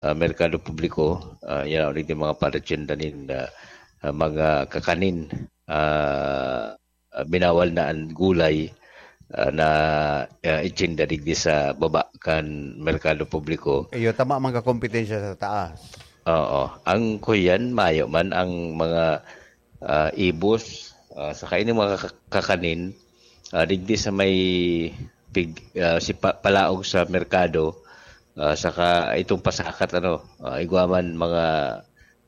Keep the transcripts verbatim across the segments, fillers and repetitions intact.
ah, merkado publiko, ah, yan ang mga parachenda nin, ah, ah, mga kakanin, ah, ah, binawal na ang gulay, ah, na, ah, itsinda digdi sa baba kan merkado publiko. Iyo, tama man ka kompetensya sa taas. Oo. Ang kuyan, mayo man ang mga, ah, ibos, ah, saka ini mga kak-, kakanin, ah, digdi sa may pig-, ah, si pa-, palaog sa merkado, ah, saka itong pasakat, ano, ah, igwa man mga,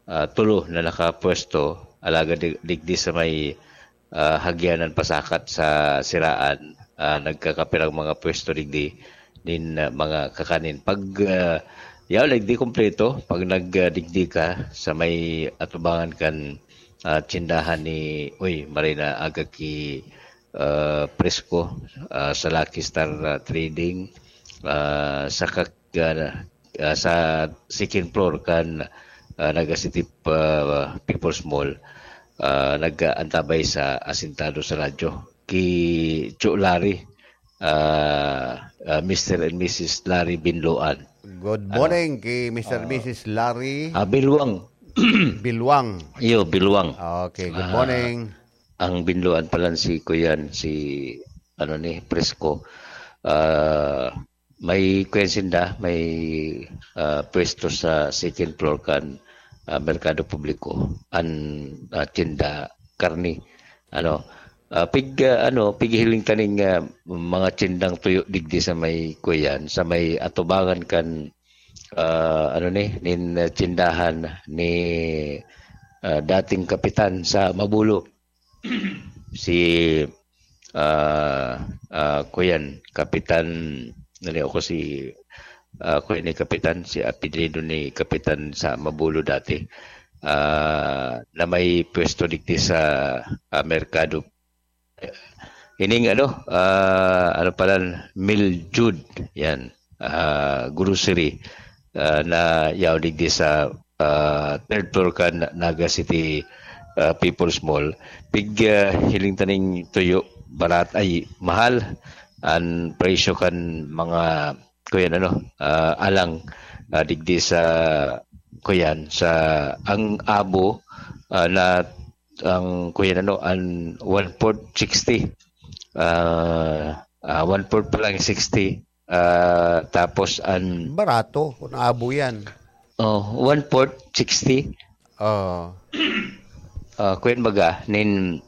ah, tulo na nakapwesto, alagad di-, digdi sa may, ah, hagyanan pasakat sa siraan, ah, nagkakapirang mga pwesto digdi nin, ah, mga kakanin. Pag, ah, yaw, digdi kompleto, pag nag, ah, digdi ka sa may atubangan kan, ah, tsindahan ni, uy, Marina, aga ki, ah, Presko, ah, sa Lucky Star, ah, Trading, ah, sa kak-, ah, ah, sa second floor kan, ah, Naga City, ah, People's Mall, ah, nag-aantabay sa asintado sa radyo, ki Cho Larry, ah, ah, Mister and Missus Larry Binloan. Good Ano? morning kay Mister Ah. Missus Larry Ah, Bilwang. Bilwang. Iyo, Bilwang. Okay, good Ah, morning. Ang Binloan pala si Kuyan, si, ano ni, Presko. Ah, may kuyan sinda, may, ah, pwesto sa second floor kan, ah, merkado publiko. An, ah, tinda karni. Ano, ah, pig, ah, ano, pighiling taning, ah, mga tindang tuyo digdi sa may kuyan, sa may atubangan kan, ah, ano ni, nin, ah, tindahan ni, ah, dating kapitan sa Mabulo. Si, ah, ah, kuyan, Kapitan, naliw ko si, ah, kuyan ni Kapitan, si apelyido ni Kapitan sa Mabulo dati, ah, na may pwesto digdi sa, ah, merkado. Ining ano, ah, ano pala, Miljud, yan, ah, grocery, ah, na yaw digdi sa, ah, third floor kan Naga City, ah, People's Mall. Pig, ah, hiling taning tuyo, barat ay mahal an presyo kan mga, kuyan ano, ah, alang, ah, digdi sa, kuyan, sa ang abo, ah, na ang kuyan ano, an one fourth sixty. Ah, ah, one fourth pa lang sixty. Ah, tapos an Barato, kung abo yan. Oh, one fourth sixty. Oo. Ah, kuyan baga, nin,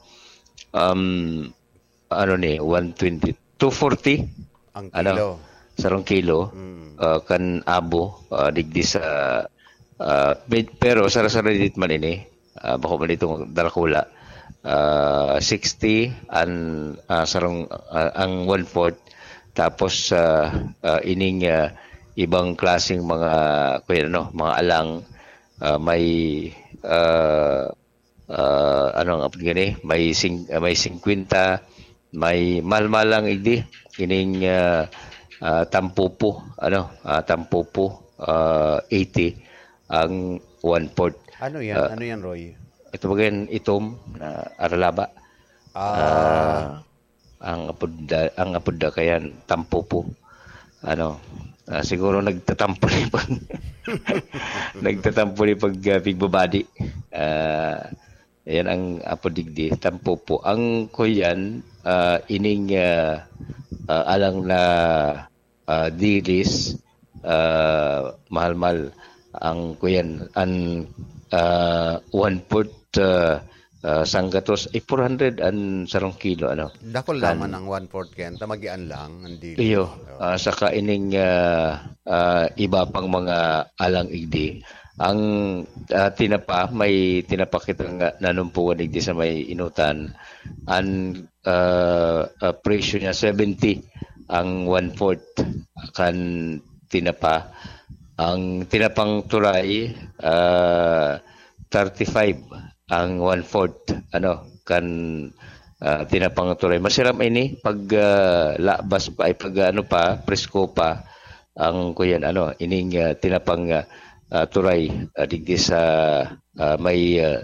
um, ano ni, one twenty, two forty? Ang Ano? kilo. Sarong kilo, Mm. ah, kan abo, ah, digdi sa, ah, med-, pero sara-sara dit man ini, ah, bako man itong darakula, ah, sixty, an, ah, sarong, ah, ang one-fourth, tapos, ah, ah, ining, ah, ibang klaseng mga, kuyan ano, mga alang, ah, may, ah, ah, ano ang apod gani? May sing-, ah, may singkwenta, may malmalang igdi, ining, ah, ah, tampupo, ano, ah, tampupo, ah, eighty ang one-fourth. Ano yan? Ah, Ano yan, Roy? Ito ba yan? Itom na aralaba. Ah. Ah, ang apod da, ang apod da kayan, tampupo. Ano, ah, siguro nagtatampo ni pag, nagtatampo ni pag, ah, pigbabadi. Ah, yan ang apod digdi, tampupo. Ang kuyan, ah, ining, ah, ah, alang na, ah, dilis, ah, mahal-mahal ang kuyan, an, ah, one-fourth, ah, ah, sanggatos, eh, four hundred an sarong kilo, ano. Dakul Kan- naman ang one-fourth kayan, ta magian lang, ang dilis. Iyo, Oo. ah, saka ining, ah, ah, iba pang mga alang igdi. Ang, ah, tinapa, may tinapa kita nga nanumpuan digdi sa may inutan. An, ah, ah, presyo niya, seventy ang one-fourth kan tinapa. Ang tinapang turay, ah, thirty-five ang one-fourth, ano, kan, ah, tinapang turay. Masiram ini pag, ah, labas pa, ay pag, ano pa, presko pa, ang kuyan, ano, ining, ah, tinapang, ah, ah, turay, ah, digdi sa, ah, may, ah,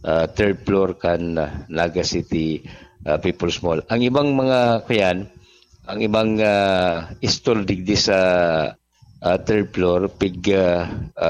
ah, third floor kan, ah, Naga City, ah, People's Mall. Ang ibang mga, kuyan, ang ibang, ah, stall digdi sa, ah, third floor, pig, ah,